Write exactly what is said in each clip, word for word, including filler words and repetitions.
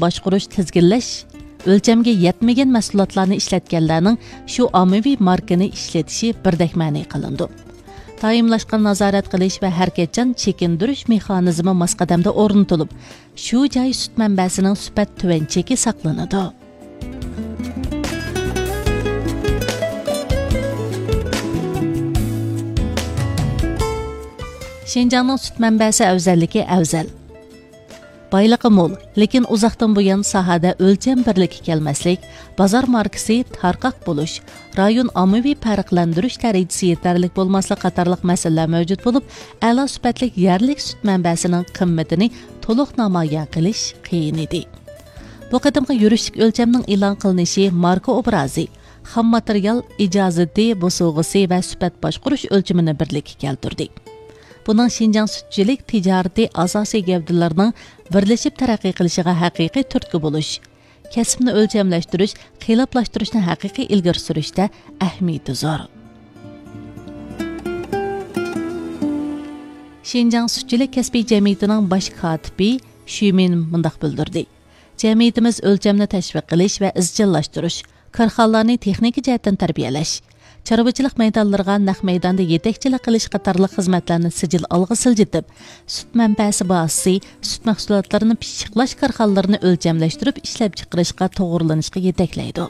باشقۇرۇش، تىزگىنلەش، ئۆلچەمگە يەتمىگەن مەھسۇلاتلارنى ئىشلەتكەنلەرنىڭ شۇ ئاممىۋى ماركىنى ئىشلىتىشى بىردەك مەنئى قىلىنىدۇ. دائىملاشقان نازارەت قىلىش ۋە ھەرىكەتچان چېكىندۈرۈش مېخانىزمى ماس قەدەمدە ئورنىتىلىپ، شۇ جاي سۈت مەنبەسىنىڭ سۈپەت تۆۋەن چېكى ساقلىنىدۇ. شىنجاڭنىڭ سۈت مەنبەسى ئەۋزەللىكى ئەۋزەل. بايلىقى مول، لېكىن ئۇزاقتىن بۇيان ساھەدە ئۆلچەم بىرلىككە كەلمەسلىك، بازار ماركىسى تارقاق بولۇش، رايون ئاممىۋى پەرقلەندۈرۈش دەرىجىسى يېتەرلىك بولماسلىق قاتارلىق مەسىلىلەر مەۋجۇت بولۇپ، ئەلا سۈپەتلىك يەرلىك سۈت مەنبەسىنىڭ قىممىتىنى تولۇق نامايان قىلىش قىيىن ئىدى. بۇ قېتىمقى يۈرۈشلۈك ئۆلچەمنىڭ ئېلان قىلىنىشى ماركا ئوبرازى، خام ماتېرىيال ئىجازىتى بوسۇغىسى ۋە سۈپەت باشقۇرۇش ئۆلچىمىنى بىرلىككە كەلتۈردى. بۇنىڭ شىنجاڭ سۈتچىلىك تىجارىتى ئاساسىي گەۋدىلىرىنىڭ بىرلىشىپ تەرەققىي قىلىشىغا ھەقىقىي تۈرتكە بولۇش، كەسىپنى ئۆلچەملەشتۈرۈش، قېلىپلاشتۇرۇشنى ھەقىقىي ئىلگىرى سۈرۈشتە ئەھمىيىتى زور. شىنجاڭ سۈتچىلىك كەسپىي جەمئىيىتىنىڭ باش كاتىپى شۈمىن مۇنداق بىلدۈردى: جەمئىيىتىمىز ئۆلچەمنى تەشۋىق قىلىش ۋە ئىزچىللاشتۇرۇش، كارخانىلارنى تېخنىكا جەھەتتىن تەربىيەلەش، چارۋىچىلىق مەيدانلىرىغا نەق مەيداندا يېتەكچىلىك قىلىش قاتارلىق خىزمەتلەرنى سىجىل ئالغا سىلجىتىپ، سۈت مەنبەسى بازىسى، سۈت مەھسۇلاتلىرىنى پىششىقلاش كارخانىلىرىنى ئۆلچەملەشتۈرۈپ ئىشلەپچىقىرىشقا توغرىلىنىشقا يېتەكلەيدۇ.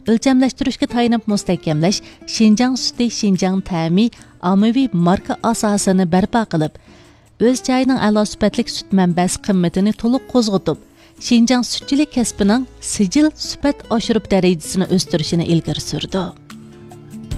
ئۆلچەملەشتۈرۈشكە تايىنىپ مۇستەھكەملەش، شىنجاڭ سۈتى، شىنجاڭ تەمى ئاممىۋى ماركا ئاساسىنى بەرپا قىلىپ، ئۆز جايىنىڭ ئەلا سۈپەتلىك سۈت مەنبەسى قىممىتىنى تولۇق قوزغىتىپ، شىنجاڭ سۈتچىلىك كەسپىنىڭ سىجىل سۈپەت ئاشۇرۇپ دەرىجىسىنى ئۆستۈرۈشىنى ئىلگىرى سۈرىدۇ.